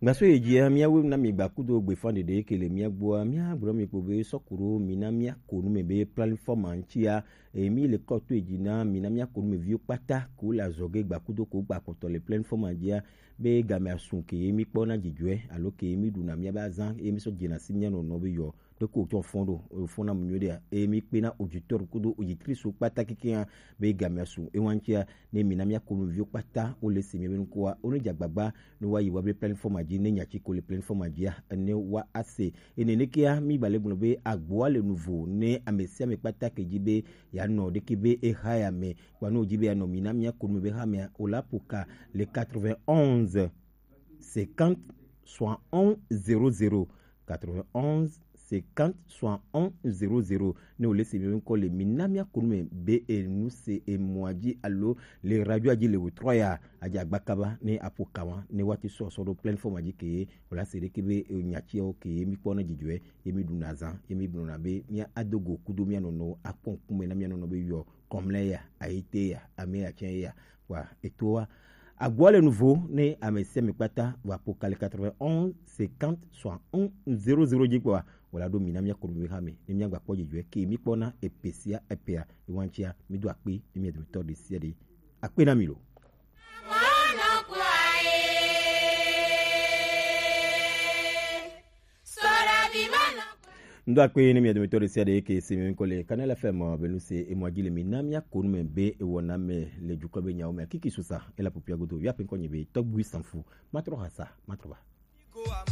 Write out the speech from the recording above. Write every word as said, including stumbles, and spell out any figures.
Gbaso yi dzia, míawoe na mi gba kudo gbefa ɖeɖe ke le mía gbɔa, míagblɔ mi kpo be sɔkuɖo mi na míako nu me be plateforme ŋutia, eye mi le kɔ to edzi na mi na míako nu me viwo kpata ko le azɔ ge gba kudo ko gba kpɔtɔ le plateforme dzia, be game asu ke ye mi kpɔ na dzidzɔe alo ke ye mi ɖu na mía be azã ye mi sɔ dzena si mía nɔnɔ be yɔ ɖe ko tsɔ fɔn ɖo, fɔn na mu nyuie ɖea, eye mi kpe na auditeur kudo auditrice kpata kekeŋ be game asu ewa ŋutia, ne mi na míako nu viwo kpata wo le se mía be ŋkɔa, wo ne dza gbagba ne wa yi wa be plateforme dzi, ne nya tsi ko le plateforme dzia, ne wa ase. Ene nekea mi ba le gblɔ be agboa le nuvo ne ame sia ame kpata ke dzi be ya nɔ ɖeke be eha ya me, kpa ne wo dzi be ya nɔ mi na míako nu me be ha mea, o la poka le quatre-vingt-onze cinquante soixante-onze zéro zéro, quatre-vingt-onze cinquante soixante-onze zéro zéro. Ne wo le se mi ŋkɔ le mi na míako nu me be enu se emɔa dzi alo le radio dzi le wòtrɔ ya, adze agba kaba ne aƒo kama ne woate sɔ sɔ ɖo plateforme dzi ke ye wòle ase ɖeke be nya tsiawo ke ye mi kpɔ na dzidzɔe ye mi ɖuna zã ye mi gblɔna be mía ado go kudo mía nɔnɔwo akpɔ ŋkume na mía nɔnɔ be yɔ kɔmlɛ ya, ayite ya, ame ya tsɛ ya. Wa etoa agboa le nuvo ne ame sia ame kpata wa po kali quatre-vingt-onze cinquante soixante-onze zéro zéro dzi kpɔa, wòla ɖo mi na mía kɔnu mi hame ne mía gba kpɔ dzidzɔe ke mi kpɔ na epe sia epea ewa ŋutia mi do akpe ne mía dometɔ ɖe sia ɖe. Akpe na mi lo. Ŋdo akpe ne mia dometɔ ɖe sia ɖe ke se mi ŋkɔ le Kanal F M be nu se emɔa dzi le mi na mía kɔnu me be ewɔna me le dukɔ be nyawo me kiki susa ela popia godo via pe ŋkɔ nye be tɔgbui sanfu matrɔ hasa matrɔ ba.